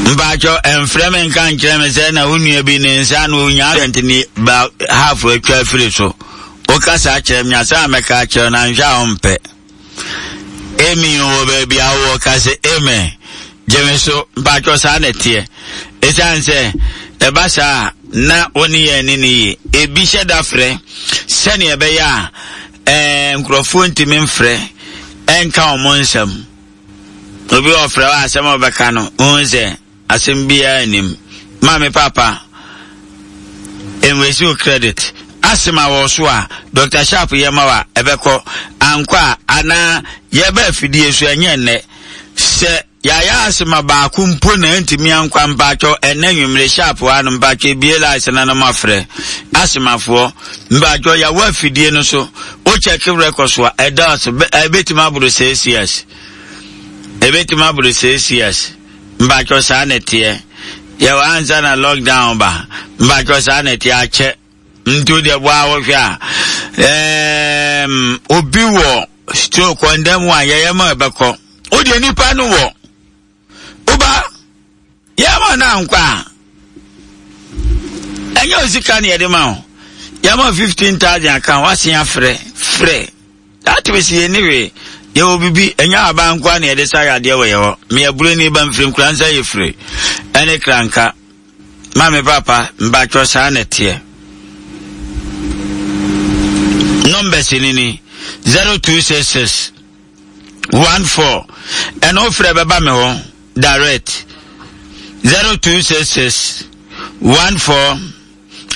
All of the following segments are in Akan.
Mpakyɛ ɛmfrɛ me nka nkyerɛ me sɛ na wo nua bi ne nsa na onya accident ne ba half atwa afiri so. Woka saa kyerɛ me asɛm a mɛka akyerɛ no anhwɛ a ɔmpɛ. Amy wɔ baabi a wowɔ ka sɛ amen. Gye me so mpakyɛ saa na ɛteɛ. Ɛsiane sɛ ɛba saa a na wo ne yɛn ne ne yie. Ebi hyɛ da frɛ sɛnea ɛbɛyɛ a ɛɛ nkurɔfoɔ ntumi mfrɛ ɛnka wɔn nsɛm. Obi ɔfrɛ wo asɛm a ɔbɛka no, wohu sɛ asɛm biara nnim. Maame papa, nwesi wo credit. Asɛm a wɔ so a, Dr. Sharp yɛ ma wa, ɛbɛkɔ. Ankɔ a, anaa yɛba afidie so ɛnyɛ nnɛ. Sɛ yɛayɛ asɛm a baako mpo na ɛntumi ankɔ mpaatwɔ ɛnɛ nwummere Sharp hɔ ano mpaatwɔ ebie lines na no mafrɛ. Asemafoɔ, mpaatwɔ yɛwɔ afidie no so, wo check record so a, ɛdɔɔso, ɛbɛtumi aboro 6 years. Ebetumi aboro 6 years. Mpakyɛw saa na ɛteɛ. Yɛwɔ ansa na lockdown ba. Mpakyɛw saa na ɛteɛ akyɛ. Nti wo deɛ boa wohwɛ a. Ɛɛm, obi wɔ stroke ɔnda mu a yɛyɛ ma ɛbɛkɔ. Wo deɛ nipa no wɔ. Woba yɛma no ankɔ a ɛnyɛ osika na yɛde ma wo. Yɛma 15,000 aka wasen afrɛ frɛ. That means yɛn ni hwee. Yɛwɔ bibi, ɛnyɛ aban nkoa na yɛde sa yadeɛ wɔ yɛ hɔ. Meyɛ buroni ba mfiri nkura nsa yɛ firi. Ɛne kranka. Maame papa, mbatwɔ saa na ɛteɛ. Numbers ni ni 0266 14 ɛna wofrɛ bɛba me hɔ direct 0266 14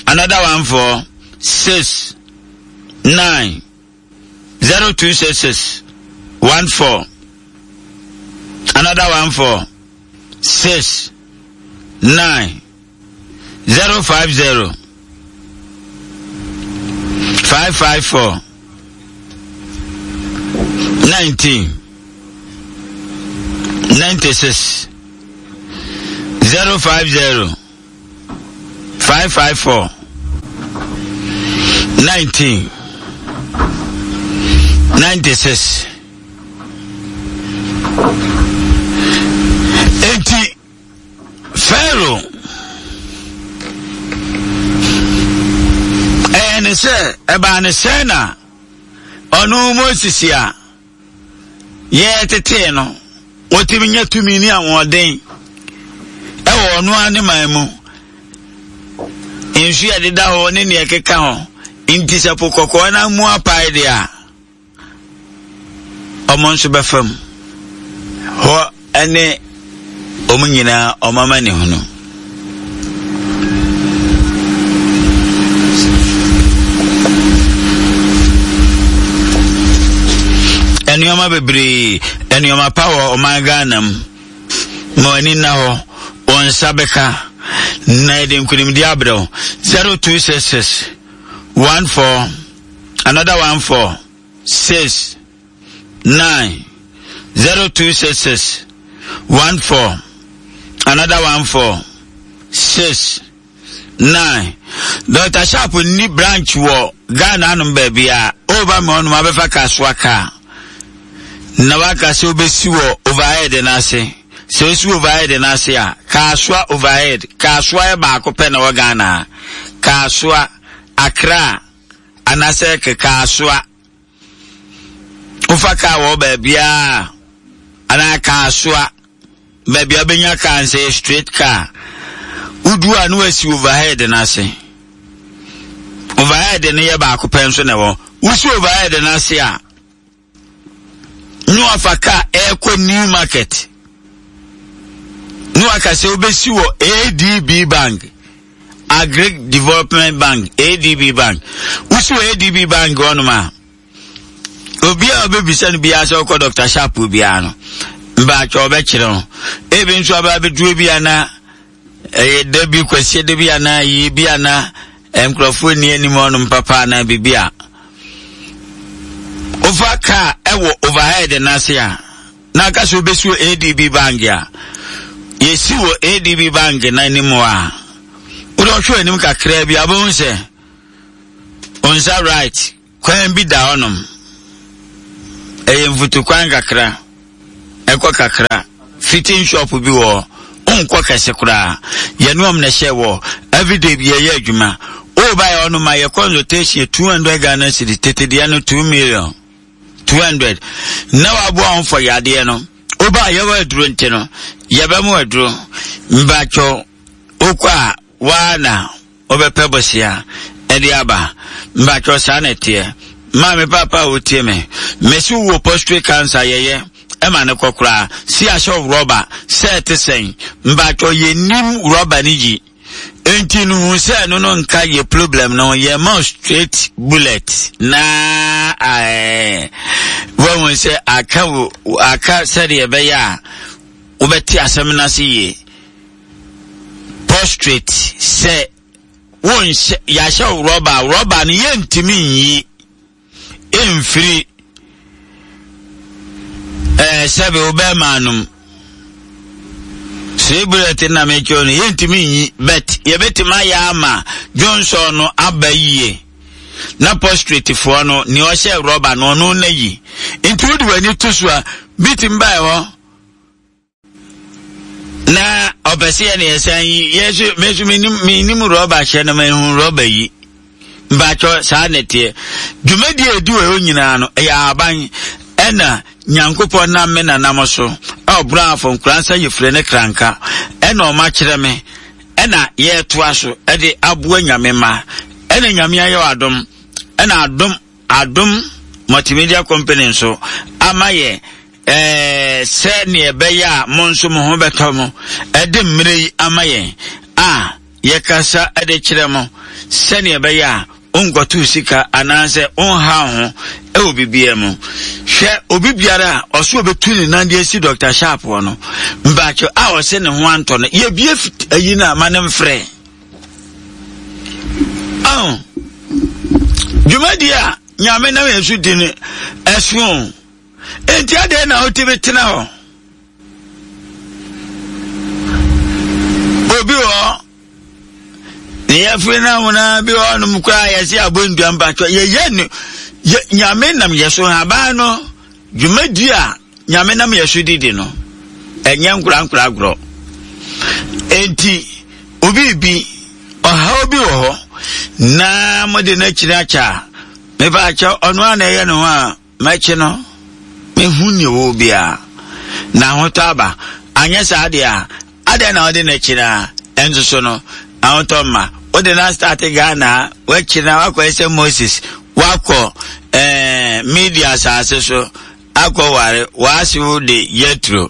another 14 6 9 0266 14 another 14 6 9 050 554 19 96 050 554 19 96 Enti Pharaoh ɛyɛ ne sɛ ɛbaa ne sɛ na ɔno Moses a yɛtetee no, wɔtumi nya tumi ne ahoɔden ɛwɔ ɔno ara ne man mu. Nsu a ɛdeda hɔ ne nea ɛkeka ho nti sɛ po kɔkɔɔ no mu apae deɛ a, wɔn nso bɛfa mu. Hɔ ne wɔn nyinaa wɔn amanehunu. Nneɛma bebree, nneɛma pa wɔ ɔman Ghana mu. Ma w'ani nna hɔ, wɔn nsa bɛka na yɛde nkunimdi abrɛ wo. 0266 14 another 14 6 9 0266 14 another 14 6 9 Dr. Sharp nni branch wɔ Ghana anom baabi a ɔreba me hɔnom abɛfa kasoa kaa na waka sɛ wobɛsi wɔ overhead no ase sɛ wosi overhead no ase a kasoa overhead kasoa yɛ baako pɛ na wɔ Ghana kasoa Accra anaasɛ kekasoa Wofa kaa wɔ baabiara anaa kaasoa, baabi a wobɛnya kaa nsɛ yɛ straight car. Wodu a na wasi overhead no ase. Overhead no yɛ baako pɛ nso na ɛwɔ. Wosi overhead no ase a, na wafa kaa ɛrekɔ new market. Na waka sɛ wobɛsi wɔ ADB bank. Agric Development Bank, ADB Bank. Wosi wɔ ADB Bank hɔnom a, obi a ɔbɛbisa no biara sɛ ɔkɔ Dr. Sharp biara no, mbaatwa ɔbɛkyerɛ ho. Ebi nso aba abɛduro bi ana ɛyɛ da bi kwasie da bi anaa yie bi ana nkurɔfoɔ nni anim hɔnom papa anaa biribi a wofa kaa ɛwɔ overhead no ase a na aka sɛ wobɛsi wɔ ADB bank a, yɛsi wɔ ADB bank no anim hɔ a, wode ɔhwɛ anim kakraa bi a wobɛhu sɛ wo nsa right kwan bi da hɔnom. Ɛyɛ mfutukwan kakra, ɛkɔ kakra, fitting shop bi wɔ hɔ. Wonkɔ kɛse koraa. Yɛne wɔn na ɛhyɛ wɔ. Everyday bi yɛyɛ adwuma. Woba yɛ ɔno ma yɛ consultation 200 Ghana cedi, tete deɛ no 2 million. 200. Na waboa wɔn fɔ yadeɛ no. Woba yɛwɔ aduro nti no, yɛbɛmo aduro. Mbatwɔ, wokɔ a, waa na wobɛpɛ bosea de aba. Mpakyɛw saa na ɛteɛ. Maame paapa a wotie me, mese wowɔ prostate cancer yɛyɛ ɛma no kɔ koraa. Si ahyɛ wo rɔba sɛ ɛte sɛn. Mpakyɛw yɛnnim rɔba no yi. Enti no hu sɛ ɛno no nka yɛ problem no yɛ ma straight bullet na ɛɛ wahu sɛ aka wo aka sɛdeɛ ɛbɛyɛ a wobɛte asɛm no ase yie. Prostrate sɛ wonhyɛ yɛahyɛ wo rɔba a rɔba no yɛntumi nyi mfiri ɛɛ sɛbe wo bɛrima anom sɛ bullet na mekyerɛ no yɛntumi nyi but yɛbɛtumi ayɛ ama dwonsɔ no aba yie na prostrate foɔ no nea ɔhyɛ rɔba no ɔno na yi nti wode w'ani to so a bi tumi bae hɔ Na ɔpɛ sɛ yɛne yɛsan yi yɛn nso me nso menim menim rɔba hyɛ no mehu rɔba yi mpakyɛ saa na ɛteɛ dwumadie a ɛdi wɔ hɔ nyinaa no ɛyɛ ahaban ɛna nyankopɔn nam me nanam so a ɔboro afɔ nkoransa yɛfire ne kranka ɛna ɔma kyerɛ me ɛna yɛtoa so ɛde aboa nyame ma ɛna nyame ayɛ adom ɛna adom adom multimedia company nso ama yɛ Ɛɛ, sɛnea ɛbɛyɛ a mo nso mo ho bɛtɔ mo, ɛde mmerɛ yi ama yɛn a yɛkasa de kyerɛ mo, sɛnea ɛbɛyɛ a wonkɔto sika anaasɛ wonhaw ho wɔ biribiara mu. Hwɛ, obi biara a ɔso ɔbɛtu ne nan de asi Dr. Sharp hɔ no, mpakyɛ a ɔse ne ho antɔ no, yɛbie ayi no a ma no mfrɛ. Oh, dwumadi a Nyame nam yɛn so di no ɛso. Enti adɛn na wotumi tena hɔ? Obi wɔ hɔ, ne yɛfiri no ahona bi wɔ hɔnom koraa yɛse abɔ ndua mpatwɔ yɛyɛ no yɛ nyame nam yɛ so haban no dwumadi a nyame nam yɛ so didi no ɛnyɛ nkorankora agorɔ enti obi bi ɔhaw bi wɔ hɔ na mode no akyiri akyɛ a mepa akyɛ ɔno a na ɛyɛ ne ho a M'akyi no, mehu nea ɔwɔ biara, na ahotɔ aba. Anyɛ saa deɛ a, adɛn na wode no akyi no a, ɛnso so no, ahotɔ mma. Wode no astate Ghana a, w'akyi no a, woakɔyɛ sɛ Moses, woakɔ eh, Media asase so akɔware w'asew de Yetro.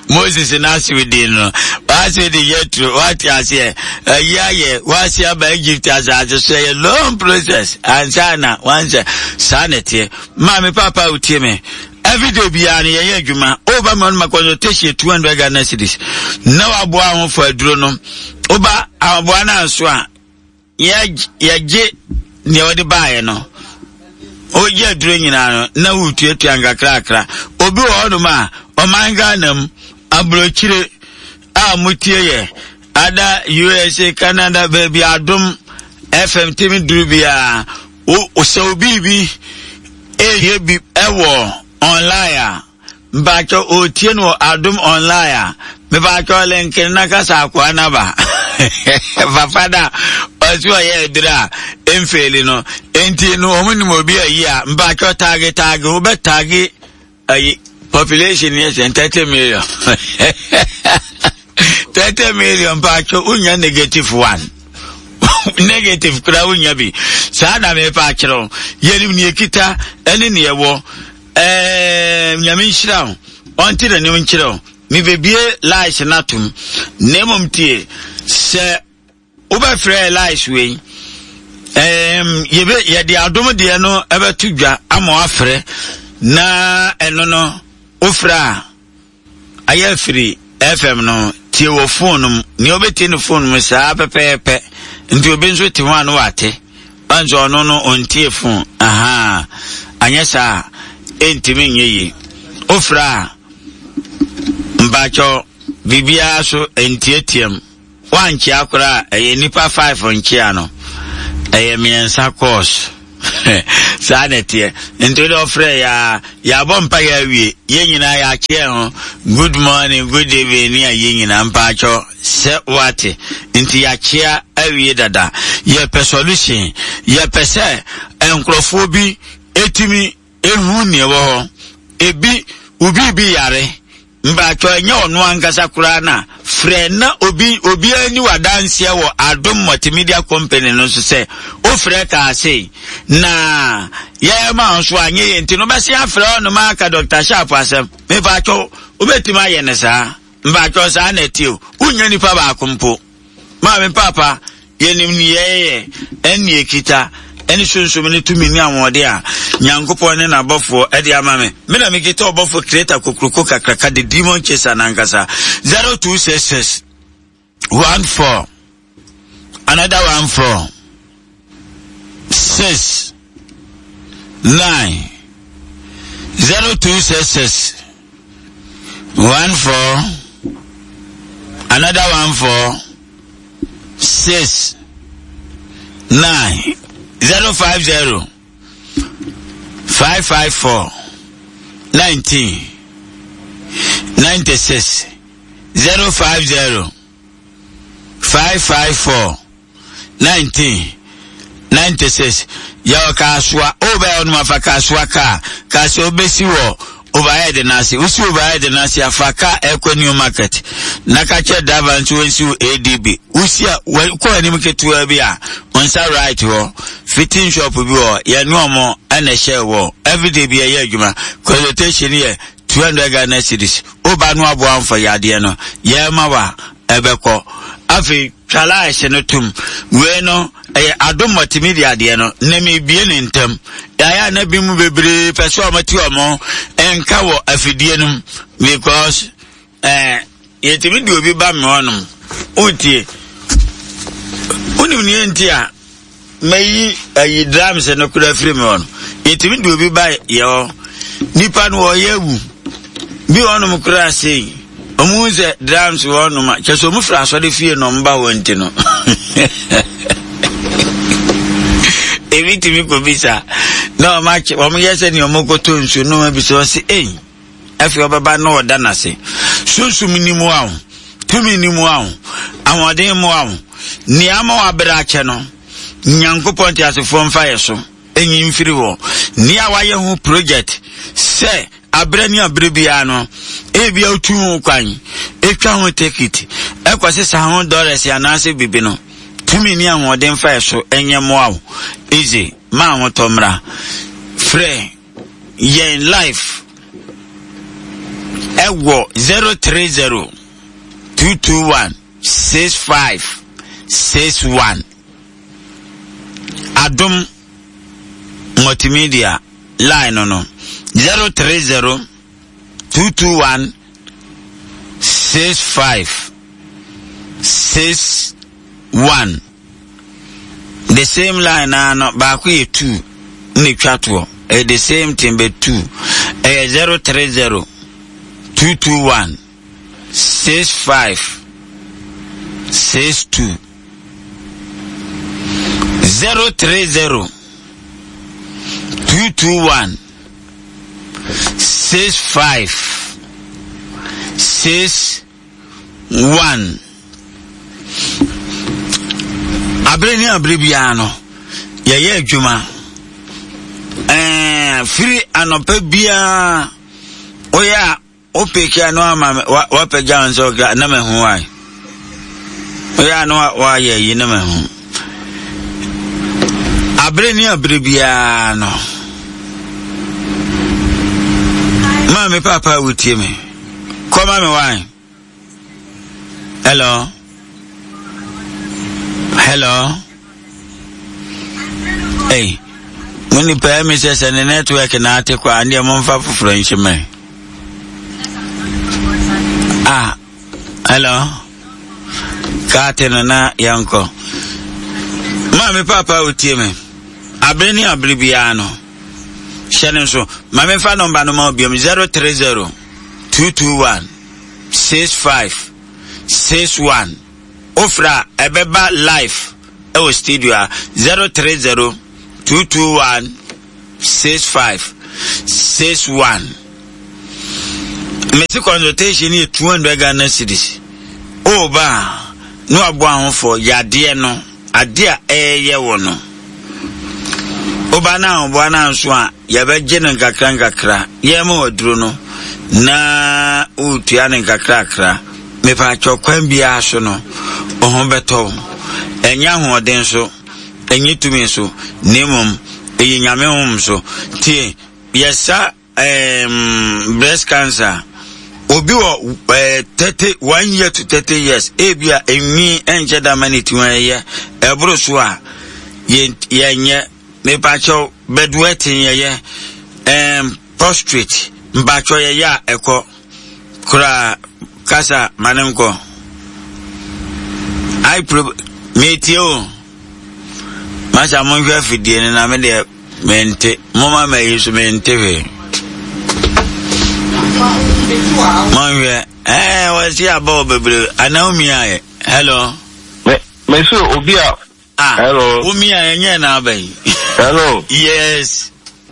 Moses n'asew din no, w'asew de Yetro, wate aseɛ, ayi ayɛ, w'ase aba Egypt asase so, ɛyɛ long process, ansa na wansɛ, saa na ɛteɛ. Maame papa wotie me, everyday biara no yɛyɛ adwuma, woba ma no ma consultation 200 Ghana cedis, na waboa ho fa aduro no, woba ahoboa no anso a, yɛgye deɛ wɔde baeɛ no wogye aduro nyinaa no na wotuatua nkakrakra obi wɔ hɔnom a ɔman ghana mu aburokyire a motie yɛ ada usa canada baabi adom fm timi duru biara sɛ obi bi ɛyɛ bi ɛwɔ online a Mpakyɛ otie no wɔ Adom online a, mepakyɛ link no na kasa akoa no aba. Papa no a ɔse ɔyɛ aduru a ɛmfeeli no, enti no wɔn nim obi ayi a, mpakyɛ taage taage, wobɛ taage ayi population yɛ sɛn 30 million. 30 million mpakyɛ wonya negative one. negative kura wonya bi. Saa na mepa akyerɛw. Yɛnim nea ekita ɛne nea ɛwɔ. Ɛɛ Nyame nhyira wo, ɔnte n'anim nkyerɛ wo. Mebebie lies no atom. Na mmom tie, sɛ wobɛfrɛ lies wei, ɛɛm, yɛbɛ, yɛde adom deɛ no ɛbɛto dwa ama wafrɛ, na ɛno no, wofrɛ a, Ayɛ afiri FM no tie wɔ phone no mu. Nea ɔbɛtie no phone mu saa pɛpɛɛpɛ. Nti obi nso te ho a no wate. Ɔnso ɔno no ɔntie phone. Ahaa. Anyɛ saa a, ɛntumi nyɛ yie. Wofrɛ a, mpakyɛw, biribiara so ntiatiam. Woankyea koraa a, ɛyɛ nnipa five nkyea no, ɛyɛ mmiɛnsa course. Saa na ɛteɛ. Nti wode ɔfrɛ yɛ a, yɛabɔ mpa yɛ awie. Yɛn nyinaa yɛakyeɛ ho. Good morning, good evening ne ayɛ nyinaa mpaakyɛw sɛ woate. Nti yɛakyea awie dada. Yɛpɛ solution. Yɛpɛ sɛ nkurɔfoɔ bi ɛtumi ɛhu neɛ ɛwɔ hɔ. Ebi, obi bi yare. Mpakyɛw ɛnyɛ ɔno ankasa koraa na frɛ na obi obiara ni w'adanseɛ wɔ Adom Multimedia Company no so sɛ wofrɛ kaa sei na yɛma wo nso anyɛ yɛ nti no wobɛse afrɛ ɔnom aka Dr. Sharp asɛm. Mepakyɛw wobɛtumi ayɛ no saa? Mpakyɛw saa na ɛte o. Wonnya nipa baako mpo. Maame paapa, yɛnim nea yɛyɛ, ɛne nea yɛkita, ɛne sunsum ne tumi ne ahoɔden a Nyankopɔn ne n'abɔfoɔ de ama me. Me na mekita ɔbɔfo Kreta kokroko kakraka, the demon chaser n'ankasa. 0266 14 another 14 6 9 0266 14 another 14 6 9 050 554 19 96 050 554 1996 Yɛwɔ Kasoa, o bɛyɛ ɔnom afa Kasoa kaa, Kasoa wobɛsi wɔ overhead no ase, wosi overhead no ase afa kaa ɛkɔ New Market, na ka kyerɛ driver nso wɔnsi wo ADB, wosi a kɔ anim ketewa bi a, nsa right hɔ, fitting shop bi wɔ yɛne ɔmo ɛna ɛhyɛ wɔ, everyday bi ɛyɛ adwuma, consultation yɛ 200 Ghana cedis, woba no aboa mfa yadeɛ no, yɛma wa ɛbɛkɔ, afei Twa lines no tom. Wei no, ɛyɛ Adom Multimedia deɛ no, na mebie ne ntam. Yɛayɛ a na bi mu bebree pɛ sɛ wɔte wɔn nka wɔ afidie no mu because eh, yɛtumi de obi ba me hɔnom. Wotie? Wonim neɛ nti a Mɛyi ayi drums no koraa firi me hɔ no. Yɛtumi de obi ba yɛ hɔ. Nipa no ɔyɛ awu. Bi hɔnom koraa sei. Ɔmo hu sɛ drums wɔ hɔnom a, kyɛ sɛ ɔmo firi asɔre fie na ɔmo ba hɔ nti no. Ebi tumi kɔ bisa na ɔmo akyɛ ɔmo yɛ sɛ nea ɔmo kɔtɔ nsuo na ɔmo abisa ɔsi ei. Afei ɔbɛba na ɔda n'ase. Sunsum ni mu aho, tumi ni mu aho, ahoɔden mu aho. Nea ama wabrɛ akyɛ no, Nyankopɔn teasefoɔ mfa yɛ so nyi mfiri hɔ. Nea wayɛ ho project sɛ aberɛ ne aberɛ biara no, ebia otu ho kwan, etwa ho tekit, ɛkɔ sesa ho dɔlɛs anaasɛ bibi no, tumi ne ahoɔden mfa yɛ so nyɛ mmoa wo. Easy, ma ahotɔ mmra. Frɛ yɛn life ɛwɔ 030 221 65 61 Adom Multimedia line no no 030 221 65 61 The same line naa no baako yɛ two na etwa toɔ. Ɛyɛ the same thing but two. Ɛyɛ 030 221 65 62 030 221 65 6 1. Abere ne abere biara no, yɛyɛ adwuma. Ɛɛ firi anɔpa biara, woyɛ a wopeke a na wama wapagya wo nsa ɔkra na mahu wae. Woyɛ a na wayɛ yi na mahu. Abere ne abere biara no, maame papa wotie me. Kɔma me wine. Hello. Hello. Hey. Mo nipa yɛ mi sɛ sɛ ne network na ate kɔ a ndeɛ momfa foforɔ nhyɛ mɛ. Ah. Hello. Kaate no na yɛnkɔ. Maame papa otie me. Abere ne abere biara no. Hyɛ no nso. Ma memfa nɔmba no ma wo biom 030 221 65 61. Wofrɛ a ɛbɛba live ɛwɔ studio a 030. 221 65 61. Mesi consultation yɛ 200 Ghana cedis. O ba a, na waboa ahofoɔ yadeɛ no, adeɛ a ɛyɛ wɔ no. Woba no ahoboa no anso a, yɛbɛgye no nkakra nkakra. Yɛma waduro no na wotua no nkakrakra. Mepaakyɛw kwan biara so no, wo ho bɛtɔ wo. Ɛnyɛ ahoɔden so, ɛnyɛ tumi so, na mmom ɛyɛ Nyame honhom so. Tie, yɛsa um, breast cancer. Obi wɔ eh, 30, 1 year to 30 years, ebi a enwi ɛnkyɛ da ma ne ti ho ɛyɛ, ɛboro so a, yɛnyɛ. Mepaakyɛw, bedwetting yɛyɛ, um, prostrate, mpaakyɛw yɛyɛ a ɛkɔ. Koraa kasa ma no nkɔ. Ai pro metie o. Masa monhwɛ afidie no na me deɛ mente. Moma ma yi so mente hwee. Monhwɛ. Ɛɛ wɔsi aba wɔ bebree. Anaa wo mia yɛ. Hello. Me me so obi a. Ah. Hello. Wo mia yɛ nyɛ na aba yi. Hello. Yes.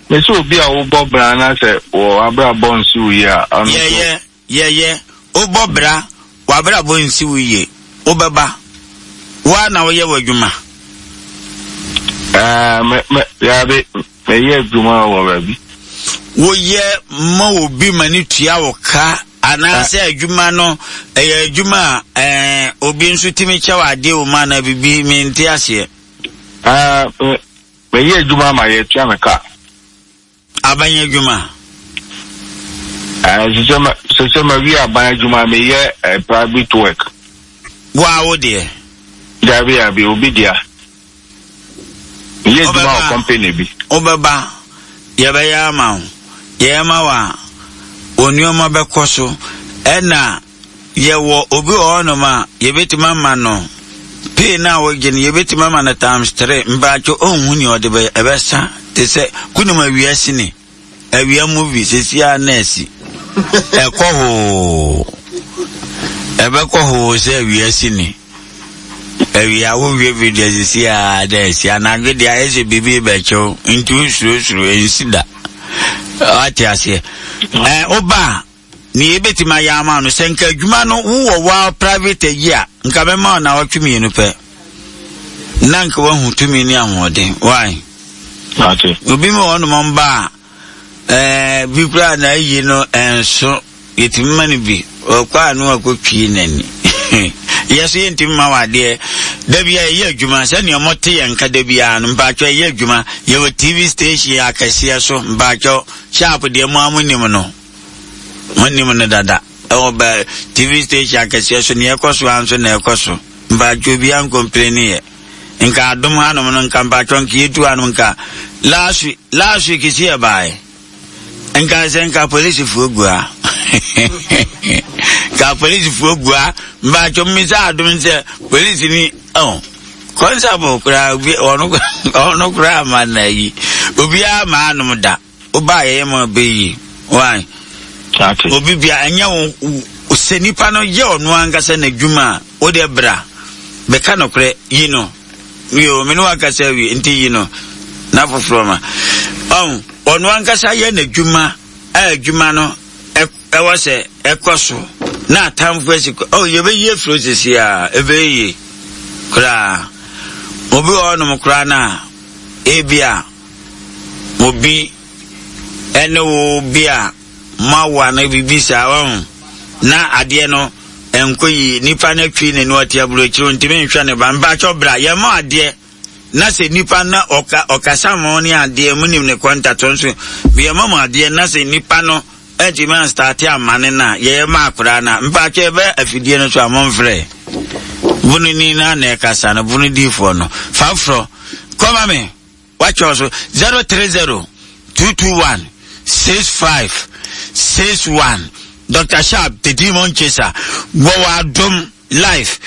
Me sɛ obi a wobɔ bra na sɛ wɔ abrabɔ nsi wo yie a, ɔno nso. Yɛyɛ, yɛyɛ, wobɔ bra, w'abrabɔ nsi wo yie, wobɛba. Wo ara na woyɛ w'adwuma. Ɛɛ, me, me, yaabi, meyɛ adwuma wɔ baabi. Woyɛ ma obi ma ne tua wo ka anaasɛ adwuma no ɛyɛ adwuma a ɛɛ obi nso tumi kyɛ wo adeɛ wɔ mu anaa biribi mente aseɛ. Ɛɛ, Meyɛ adwuma ma yɛtua me ka. Aban adwuma? Ɛɛ, sɛ mawie aban adwuma, meyɛ eh, private work. Wo a wo deɛ? Dabi, dabi, obi dea. Meyɛ adwuma wɔ company bi. Wobɛba, yɛbɛyɛ ama wo. Yɛyɛ ma wo a, wo nneɛma bɛkɔ so. Ɛna Yɛwɔ obi wɔ hɔnom a, yɛbɛtumi ama no pay no a wogye no, yɛbɛtumi ama no times three. Mpaatwo ɔnhu nea ɔde bɛyɛ, ɛbɛsa te sɛ wonim awia sini, awia movie, sɛsi a na asi. Ɛkɔ hoo, ɛbɛkɔ hoo sɛ awia sini. Awia wohwɛ video sɛsi a na asi. Anadwo deɛ ayɛ sɛ biribi bɛkyew, nti wosurosuro, ɛnsi da. Wate aseɛ? Ɛɛ, woba a, Nea yebetumi ayɛ ama wo no, sɛ nka adwuma no wowɔ wo private ayi a, nka mɛma wo naawɔtwe mmienu pɛ. Na nka woahu tumi ne ahoɔden. Why? Ate. Obi ma wɔnom mba a, ɛɛ, bi koraa na ayi no ɛnso, yɛtumi ma no bi. Ɔkɔ a na wakɔtwie n'ani. Yɛ so yɛntumi ma wo adeɛ. Da bi a yɛyɛ adwuma, sɛnea wɔte yɛn nka da biara no, mpaatwɔ yɛyɛ adwuma. Yɛwɔ TV station akɛseɛ so, mpaatwɔ, sharp deɛ mo ara monim no. Monim no dada. Ɛwɔ bɛ TV station akɛseɛ so, nea ɛkɔ so ara nso na ɛkɔ so. Mpaatwɔ obiara nkompleni yɛ. Nka adom hanom no, nka mpaatwɔ nka yɛtu hanom nka last week, last week si yɛbaeɛ. Nka sɛ nka polisifoɔ gu ha. Nka polisifoɔ gu ha. Mpaatwɔ mmisa adom sɛ polisi ni, oh. Kɔnsabɔ koraa, ɔno ɔno koraa ma na yi. Obiara ma anom da. Woba a yɛyɛ ma ɔbɛ yie. Why? Obi bia ɛnyɛ wo sɛ nipa no yɛ ɔno ankasa n'adwuma a wo deɛ bra bɛka nokorɛ yi no yo me ne wakasa awie nti yi no na foforɔ ma ɔn ɔno ankasa yɛ n'adwuma a adwuma no ɛwɔ sɛ ɛkɔ so na atamfo asi kɔ oh yɛbɛyi afiri sisi a ɛbɛyɛ yie koraa obi wɔ hɔnom koraa no a ebi a obi ne wo bi a moawo anaa biribi saa wahu na adeɛ no ɛnkɔ yie nipa no atwi ne no ɔte aburokyire ntumi nhwɛ ne ba mpakyɛ bra yɛma adeɛ na sɛ nipa na ɔka ɔkasa mo ne adeɛ mo nim ne kɔntatɔ nso yɛma mo adeɛ na sɛ nipa no ɛntumi anstate amane no a yɛyɛ ma akoraa no a mpakyɛ yɛbɛ afidie no so a momfrɛ bononi no na ɛkasa no bono diifoɔ no fa forɔ kɔma me Watwerɛ so 030 221 65 61 Dr. Sharp the Demon Chaser wɔwɔ adom life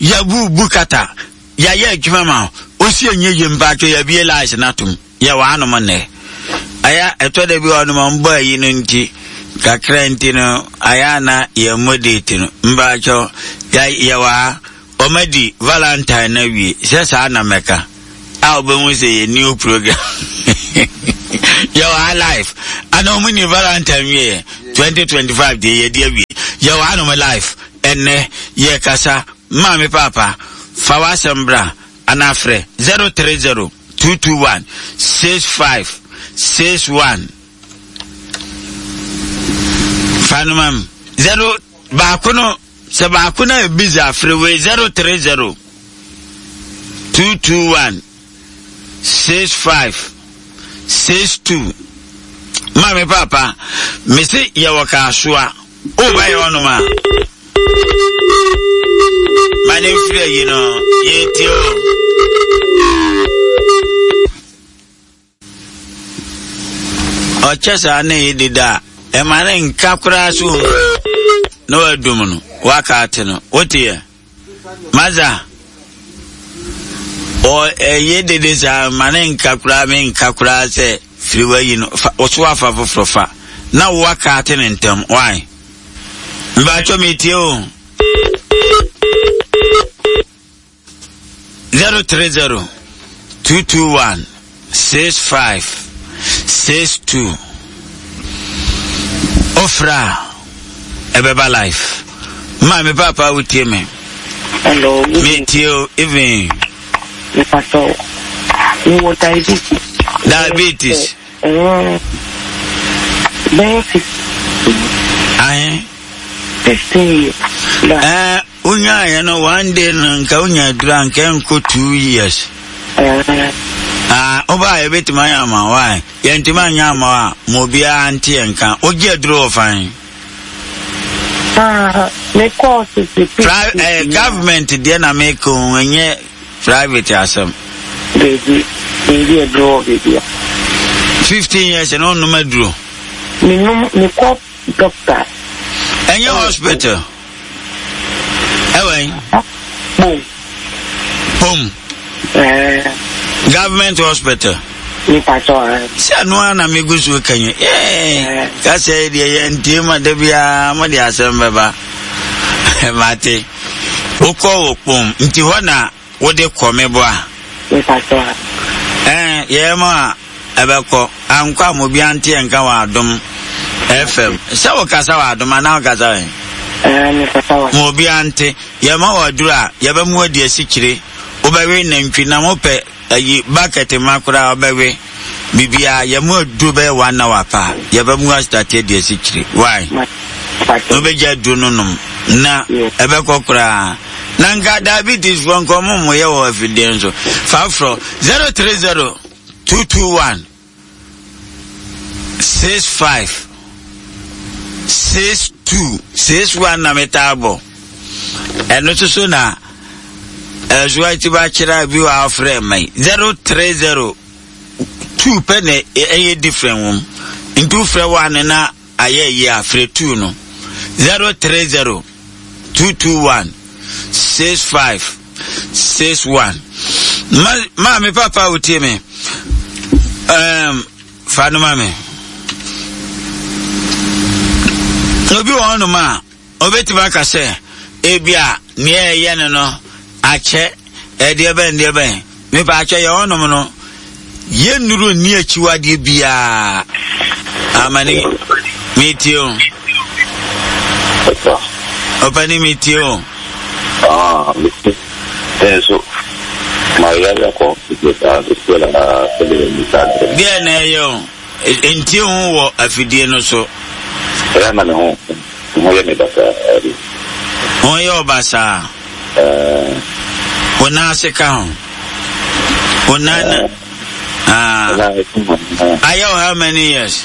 yɛbu bu kata yɛayɛ adwuma ma osi enye yie mpaatwo yɛabie lies no atom yɛwɔ anom nnɛ ayɛ ɛtɔ da bi wɔ anom mbɔ ayi no nti kakra nti no ayɛ ana yɛmmɔ date no mpaatwo yɛwɔ ha Wɔadi Valentine no awie, sɛ saa na mɛka. A wobɛhu sɛ yɛ new program. Yɛwɔ ha live. Ana ɔmo ni Valentine wieɛ. 2025 deɛ yɛde awie. Yɛwɔ hanom live. Ɛnnɛ yɛkasa. Maame paapa, fa w'asɛm bra anaa frɛ 030 221 65 61. Fa no ma me. Zero baako no sɛ baako no ayɛ busy a frɛ wei 030 221 65 62. Maame paapa, mese yɛwɔ kaasoa. Woba yɛ hɔnom a. Ma ne mfiri ayi no yɛtie o. Ɔkyɛ saa ne yɛ deda a, ɛma ne nka koraa so na wadum no, waka ate no. Wote yɛ? Maza, ɔ ɛyɛ dede saa ma ne nka koraa me nka koraa sɛ firi wayi no fa ɔso afa foforɔ fa na waka ate ne ntɛm why? Mbaatwɔ metie o. 030 221 65 62 Ofra a ɛbɛba life. Maame papa wotie me. Hello. Me tie o even. Mepatɔ mewɔ diabetes. Diabetes. Bɛyɛ 15. Ahe. 15 years. Ɛɛ. Wonyaeɛ no one day no nka wonya aduru a nka ɛnkɔ 2 years. Ah, wobaa yɛbɛtumi ayɛ ama wo a yɛntumi anyɛ ama wo a ma obiara nte yɛn nka. Wogye aduro wɔ fan? Ah, mekɔɔ tete Government deɛ na meka o, ɛnyɛ private asɛm. Baabi, baabi aduro wɔ baabi a. 15 years na wonnom aduro? Menom, mekɔ doctor. Ɛnyɛ hospital? Ɛwɔ yi? Pom. Pom. Ɛɛ. Government hospital. Nipa sɔ ɛ. Sɛ ɛno ara na megu so ka yi. Ɛɛ kasa yi deɛ yɛ ntie ma da biara mo de asɛm bɛba. Mate. Wokɔ wɔ Kpom nti hɔ na Wode kɔ me bo a. Mepakyɛw. Ɛɛ yɛɛ mo a ɛbɛkɔ. Ankɔ a mo obiara nte yɛn nka wɔ Adom FM. Sɛ wo kasa wɔ Adom anaa wo kasa wɔ he? Ɛɛ me kasa wɔ. Mo obiara nte. Yɛ ma wɔ aduru a yɛbɛ mo adi asikyire. Wobɛwe nantwi nam wopɛ ayi bucket ma koraa wobɛwe. Biribiara yɛ mo aduro bɛyɛ one hour pa yɛbɛ mo asitati adi asikyire. Why? Na wobɛgya aduro no nom na ɛbɛkɔ koraa. Na nka diabetes foɔ nka ɔmo mo yɛ wɔ afidie nso. Fa frɔ 030 221 65 62 61 na metaa bɔ. Ɛno nso so na ɛso akyi ba kyerɛ bi wɔ afrɛ mma yi 030 2 pɛ na ɛyɛ different wɔm. Nti wofrɛ 1 na Ayɛ yie a frɛ tuu no 030 221 65 61. Ma maame papa a wotie me um, fa no ma me. Obi wɔ hɔnom a Obetumi aka sɛ, ebia nea ɛyɛ no no akyɛ, ɛdeɛ bɛn deɛ bɛn. Mepa akyɛ yɛ hɔnom no, yɛ nnuru nni akyiwadeɛ biara. Amane, metie o. Ɔpani metie o. Ah, mete. Nso, mayɛ akɔ Deɛ na ɛyɛ o. Ntie ho wɔ afidie no so. Ɛyɛ na me ho me ho yɛ me basaa bi. Ho yɛ wo basaa? Ɛɛ. Wo nan ase ka ho? Wo nan na. Ah. Ayɛ wo how many years?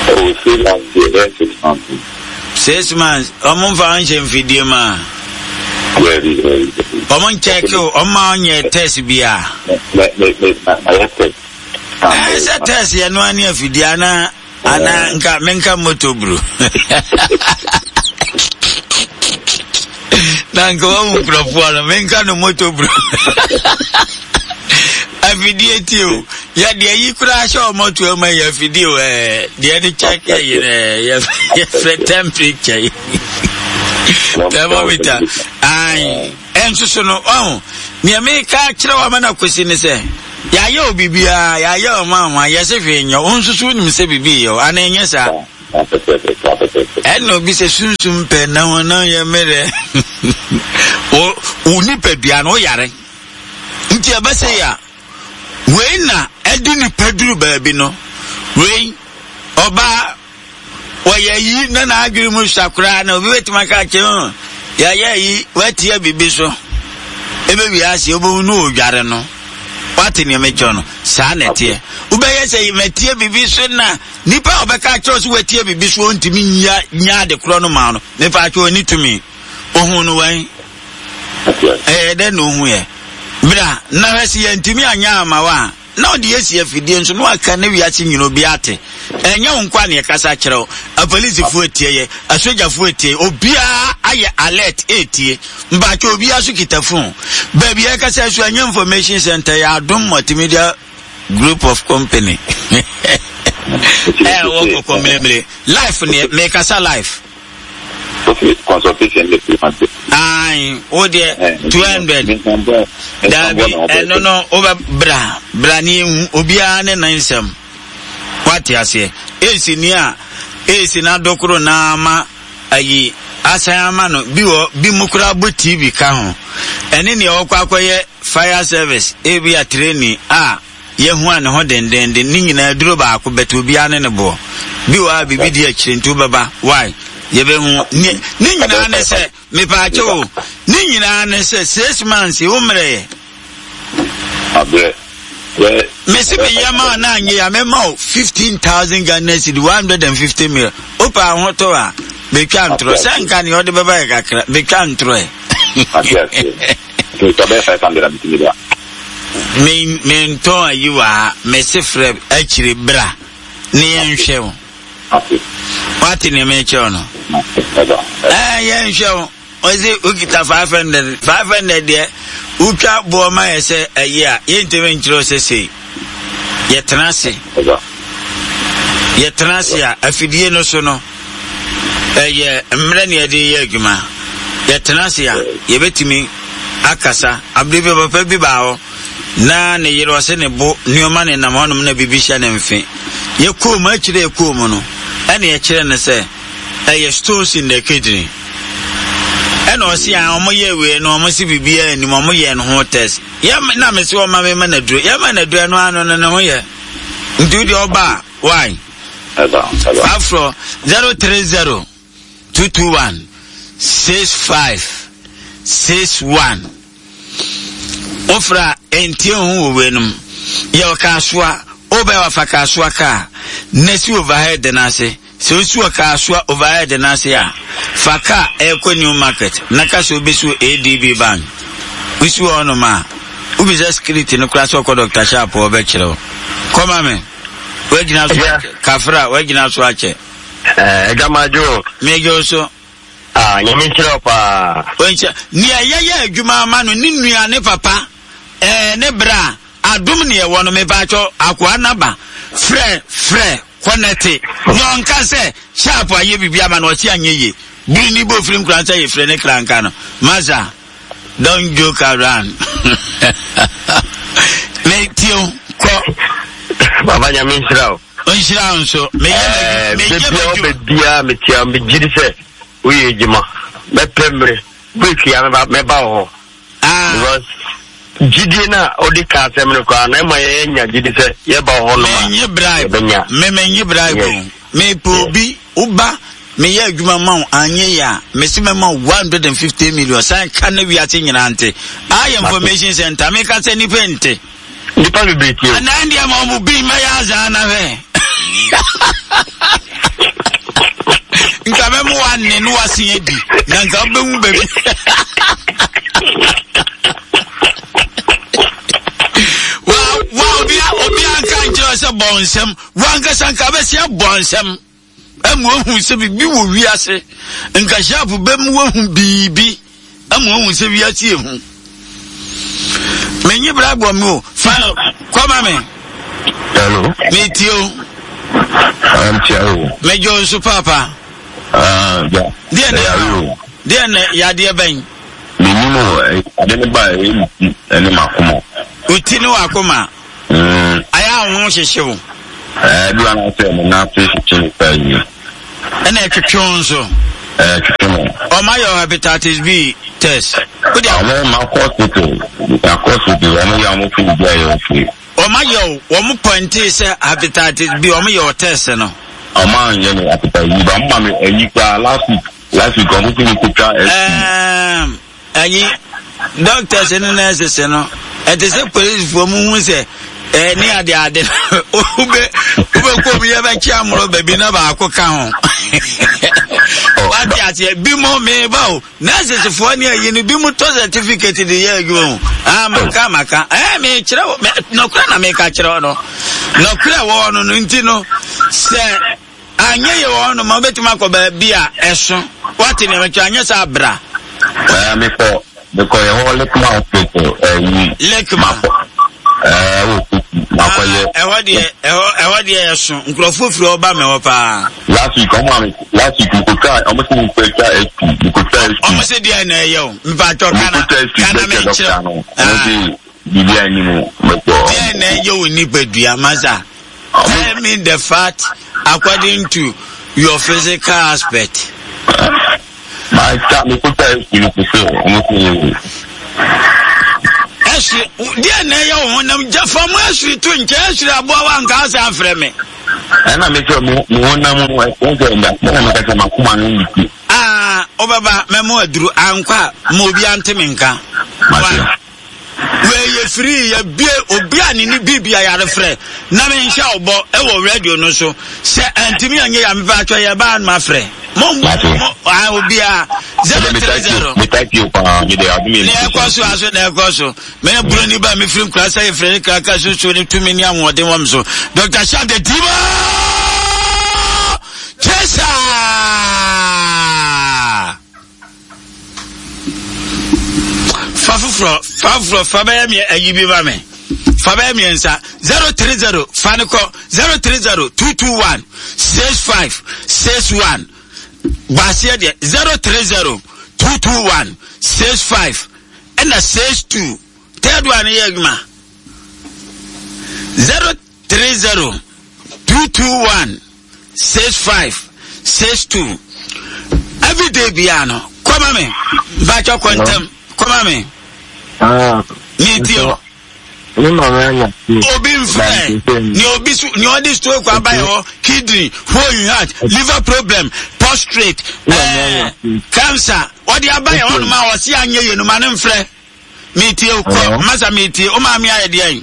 Oh, 3 months deɛ, bɛyɛ 6 months. 6 months. Ɔmo nfa wo nhyɛ mfidie mu a? Dabi, dabi, dabi. Ɔmo nkyɛke o, ɔmo ma ɔnyɛ test bia. Mɛ mɛ mɛ mayɛ test. Ɛɛ sɛ test yɛ no ani afidie anaa anaa nka menka moto buru. Na nka wahu nkurɔfoɔ no menka no moto buru. Afidie ti o yɛ deɛ yi koraa hyɛ ɔmɔ to ɛma yɛ afidie o ɛɛ deɛ de kyɛk yɛ yi ɛɛ yɛfrɛ temperature yi thermometer. Ae, ɛnso so no, ɔho, nea meka akyerɛ wo ama no akosi ne sɛ, yɛayɛ wo biribiara, yɛayɛ wo ma ho a, yɛse hwee nyɛ wo, wo nso so wonim sɛ biribi yɛ wo, anaa ɛnyɛ saa? Ɛna obi sɛ sunsum pɛ na honam yɛ mmerɛ. Wo, wo nipadua no, woyare. Nti ɛbɛsɛ yɛ a, wei na ɛde nipa duru baabi no, wei, ɔbaa, wɔyɛ yi na n'adwene mu sua koraa na obi bɛtumi aka akyerɛ ho yɛayɛ yi watia biribi so ɛbɛwie ase wobɛhu no ɔdware no wate nea mekyerɛ no saa na ɛteɛ wobɛyɛ sɛ matie biribi so na nipa a ɔbɛka akyerɛ sɛ watie biribi so ɔntumi nya nya ade korɔ no ma no mefa akyerɛ ɔni tumi ohun no wɛn ɛyɛ dɛ na ohun yɛ bra na hwɛ sɛ yɛntumi anyɛ ama wa a Na ɔde asi afidie nso na waka na wiase nyina obi ate. Ɛnyɛ wo nkoa na yɛkasa kyerɛ wo. Apolisifoɔ etie yɛ, asogyafoɔ etie, obiara ayɛ alert etie. Mpakyɛ obiara so kita phone. Baabi a yɛkasa so ɛnyɛ information center yɛ Adom Multimedia Group of Company. Ɛwɔ kɔkɔ mmeremere. Life neɛ mekasa life. Okay, consultation de 300. Ayi, wo deɛ 200. Daabi, ɛno no wobɛ bra bra ne ehu obiara ne ne nsɛm. Wate aseɛ. Esi ni a esi na dokoro na ama ayi asan ama no bi wɔ bi mu koraa bɔ TV ka ho. Ɛne nea ɔkɔ akɔyɛ fire service ebi a training a. Yɛahu a ne ho dendenden ne nyinaa duro baako but obiara ne ne boɔ bi wɔ a biribi di akyire nti wobɛba why yɛbɛhu ne ne nyinaa ne sɛ mepaakyɛ o ne nyinaa ne sɛ six months wo mmerɛ yɛ abrɛ mesi me yɛ ma na anyɛ ya mɛma o 15,000 Ghana cedi 150 mil wopɛ ahotɔ a betwa ntorɔ sɛ nka nea ɔde bɛba yɛ kakra betwa ntorɔ ɛ Nti sɛ ɔbɛyɛ 500 a metumi de a. Me mentɔn ayi wɔ ha mese frɛ akyire bra ne yɛnhwɛ wo. Wate nea mekyerɛ wo no? Ɛɛ yɛnhwɛ wo. Ɔse wokita 500 500 deɛ wotwa boɔ ma yɛ sɛ ayi a yɛntumi nkyerɛ wo sɛ sei. Yɛtena ase. Yɛtena ase a afidie no so no ɛyɛ mmerɛ ne yɛde yɛ adwuma. Yɛtena ase a yɛbɛtumi akasa. Abere bi papa bi baa hɔ na ne yere ɔse ne bo nneɛma ne nam hɔnom na biribi hyɛ ne mfe. Yɛkɔɔ mu akyire yɛkɔɔ mu no ɛna yɛkyerɛ no sɛ ɛyɛ stones in the kidney. Ɛna ɔse a wɔn yɛ wei no wɔn se biribiara anim wɔn yɛ no ho test. Yɛ na mese ɔma me ma no aduro. Yɛ ma no aduro ɛno ano no ne ho yɛ. Nti wo deɛ ɔba a why? Afro 030 221 65 61 Wofra ɛntie ho wɔ weinom. Yɛ ɔkaasoa wobɛ wafa kaasoa kaa na si overhead no ase. Sɛ osi wɔ Kasoa overhead no ase a, fa kaa ɛrekɔ New Market na ka sɛ wobesi wɔ ADB Bank. Wosi wɔ hɔnom a, wobisa security no koraa sɛ ɔkɔ Doctor Sharp hɔ ɔbɛkyerɛ wo. Kɔ ma me. Woagyina so akyɛ. Kafra, woagyina so akyɛ. Agya madwo o. Megye wo so. Ah, Nyame nhyira wo paa. Ɔnhyira. Nea yɛyɛ adwuma ama no, ne nua, ne papa, ɛɛ, ne bra, adom ne ɛwɔ no, mepaatwɔ, akoa naba, frɛ, frɛ, kɔnɛte, na ɔnka sɛ, sharp ayɛ biribi ama no, ɔse anyɛ yie. Biri ni bɔ firi nkura sɛ yɛfrɛ ne kra nka no. Masa, don't joke around. Me tie o, kɔ. Baba Nyame nhyira wo. Nhyira wo nso. Meyɛ meyɛ m'adwuma. Baabiara metia megye di sɛ woyɛ adwuma. Mɛpɛ mmere. Week ya mɛba wɔ hɔ. Ah. Because gyidie no a wode ka asɛm no koraa na ɛma yɛnya gyidi sɛ yɛba wɔ hɔ nom a yɛbɛnya. Me menye bribe o. Mepɛ obi woba meyɛ adwuma ma wo anyɛ yɛ a mese mɛma wo 150 million san ka na wiase nyinaa nte. Ayɛ information center meka sɛ nnipa nte. Nnipa bebree tie o. Anaa deɛ ma ɔmo bi mɛyɛ azaa na hwɛ. Nka bɛmo wa ne no wase adi na nka wobɛhu baabi. Wa wa obi obi anka nkyerɛ sɛ bɔ nsɛm wankasa nka bɛsi abɔ nsɛm. Ama wahu sɛ biribi wɔ wiase. Nka sharp bɛmu wahu biribi. Ama wahu sɛ wiase yɛ hu. Menye bra bɔ me o. Fa kɔma me. Hello. Metie o. Antia o. Medwo nso paapa. Ah, ya. Deɛ na deɛ na yadeɛ bɛn. Menim o, ade no ba ɛyɛ me ti ne m'akoma. Wo ti ne w'akoma? Mm. Ayɛ a wo ho hyehye wo? Ɛɛ, bi wa na sɛ me nan ase hyehye me saa yie. Ɛna ɛtwetwe wo nso? Ɛɛ, twetwe me. Ɔma yɛ hepatitis B test. Wode Ɔmo ma kɔ hospital, akɔ hospital, ɔmo yɛ ɔmo fi bi a yɛ okay. Ɔma yɛ o, wɔn pɔntee sɛ hepatitis B, ɔmo yɛ o test no. Ɔmo anyɛ me hepatitis B, ɔmo ma me ayi koraa last week. Last week ɔmo fi mi kotwa ɛsi. Ɛɛm ɛyi doctors ne nurses no ɛte sɛ polisifoɔ mu hu sɛ ɛɛ ne ade ade wobɛ wobɛkɔ mu yɛbɛkye amorɔ baabi na baako ka ho wate aseɛ bi mo meba o nurses foɔ ne ayi no bi mo tɔ certificate de yɛ adwuma o ah maka maka ɛɛ mekyerɛ wo nɔkorɛ na meka kyerɛ wo no nɔkorɛ wɔ no no nti no sɛ Anyɛ yie wɔ hɔnom a, wobɛtumi akɔ baabi a ɛso. Woate nea mekyerɛ? Anyɛ saa bra. Ɛɛ mekɔ mekɔ yɛ hɔ Lekma hospital ɛyi. Lekma. Ɛɛ wɔ Kofi makɔ yɛ. Ah, ɛhɔ deɛ ɛhɔ ɛhɔ deɛ ɛso nkurɔfoɔ firi hɔ ba mɛ hɔ paa. Last week ɔmo ame last week mekotwa ɔmo sɛ mekotwa SP mekotwa SP. Ɔmo sɛ deɛ na ɛyɛ o mpatwɔ kana kana mekyerɛ. Ɔmo sɛ biribi a anim mekɔ. Deɛ na ɛyɛ o nipadua masa. Tell me the fact according to your physical aspect. Ɛsiri deɛ na ɛyɛ wo honam gya fa mu ɛsiri to nkyɛn ɛsiri aboa wa nka asɛ afrɛ me. Ɛna mi sɛ mo honam ɛsɛ ɛna ɛna mi kasa ma kuma no nti. Aa ɔbɛba mɛmo aduru ankɔ a ma obi ante mi nka. Wei yɛ free yɛbie obi a ne ne biribi a yɛarefrɛ na menhyɛ wo bɔ ɛwɔ radio no so sɛ antumi anyɛ yɛ mepɛ atwɛ yɛ baa no mafrɛ mo mo obiara 030 ne ɛkɔ so aso na ɛkɔ so mene buroni ba mefiri nkura sɛ yɛfrɛ ne kraka susuo ne tumi ne ahoɔden wɔ m so Dr. Sharp the Demon Chaser. Fa foforɔ, fa foforɔ, fa bɛyɛ mmiɛ ayi bi ma me. Fa bɛyɛ mmiɛnsa. 030 fa no kɔ 030 221 65 61. Baaseɛ deɛ 030 221 65 ɛna 62. Third one yɛ adwuma. 030 221 65 62 everyday biara no kɔma me mpakyɛ kɔ ntɛm kɔma me ah, metie o obi mfrɛ nea obi so nea ɔde stroke aba yɛ hɔ kidney hole in heart liver problem prostrate ɛɛ eh, cancer ɔde aba yɛ hɔ nom a ɔsi anyɛ yɛ no ma ne mfrɛ. Metie o, kɔ, masa metie. O maame ayɛ deɛn?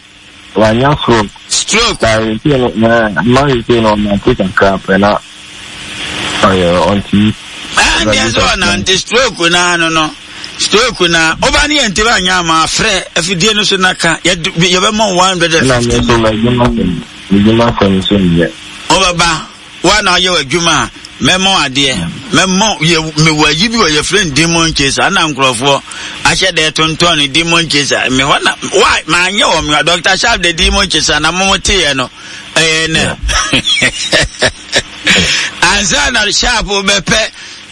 Wanya stroke. Stroke. Na sese no, na ma sese no ɔnante kakra pɛ na ɔyɛ ɔntumi. Ɛn deɛ sɛ ɔnante stroke na ano no. Stroke na ɔba ne yɛn ntoma anya ama afrɛ afidie no so na ka yɛbɛma 150. Na me nso m'adwuma fam m'adwuma fam nso nyɛ. Ɔbɛba. Woa na woyɛ w'adwuma a, mɛma wo adeɛ. Mɛma yɛ mewɔ ayi bi wɔ yɛfrɛ no demon chaser ana nkurɔfoɔ ahyɛ dɛ tontɔn no demon chaser. Me hɔ na wa manyɛ wɔ me hɔ Dr. Sharp the demon chaser na mo teeɛ no ɛyɛ nɛ. Ansa na Sharp bɛpɛ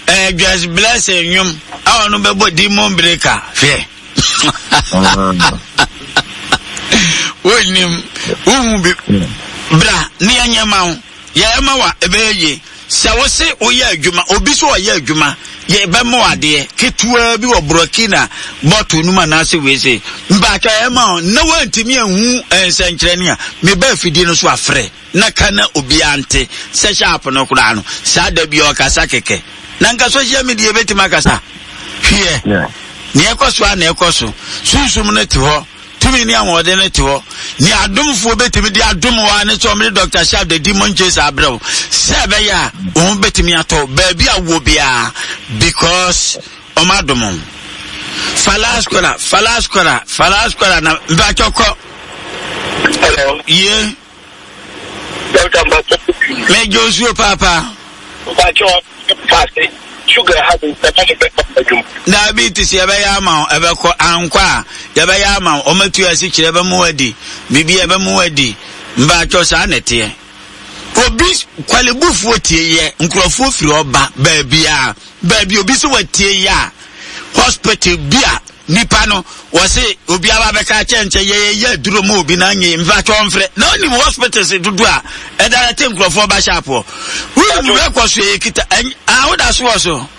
ɛɛ Joyce Blessing nnwom a ɔno bɛbɔ demon breaker hwɛ. Wonnim wohu bi bra ne yɛnyɛ ma wo. Yɛyɛ ma wo a, ɛbɛyɛ yie. Sɛ wo se woyɛ adwuma, obi so ɔyɛ adwuma, yɛbɛma wo adeɛ ketewaa bi wɔ Burkina bɔtol no mu anaasɛ wei se. Mpakyɛ yɛyɛ ma wo na woantumi anhu nsɛnkyerɛnne a, meba afidie no so afrɛ na ka na obiara nte sɛ sharp no koraa no, saa da bi ɔkasa kɛkɛ. Na nka social media bɛtumi akasa. Hwiɛ, nea ɛkɔ so a na ɛkɔ so. Sunsum no te hɔ. Tumi ne ahoɔden no te hɔ. Nea adomfoɔ bɛtumi de adom wo ara ne sɛ wɔde Dr. Sharp the Demon Chaser abrɛ wo sɛ ɛbɛyɛ a wo ho bɛtumi atɔ baabi a wowɔ biara because wɔn adom wo. Fa last caller, fa last caller, fa last caller na mpakyɛ kɔ. Hello. Yie. Dɔkta mpatsɔ. Mɛgye osuo paapaa. Mpatsɔ paase sugar ha mi ɛma mi bɛkɔ adwuma. Diabetes yɛbɛyɛ ama wo ɛbɛkɔ ankɔ a yɛbɛyɛ ama wo ɔmatu asikyerɛ ɛbɛmo adi biribi ɛbɛmo adi mpatsɔ saa na ɛteɛ obi kwalebufoɔ tie yɛ nkurɔfoɔ firi ɔba baabi a baabi obi sɛ watie yɛ a. hospital bi a nipa no wɔse obi aba bɛka kyɛ nkyɛ yɛyɛ aduro ma obi na nye mfa twɛ ɔmfrɛ na onim hospitals dodo a ɛda te nkurɔfoɔ ba sharp hɔ. Wonim rekɔ so yɛ kita a woda so wɔ so.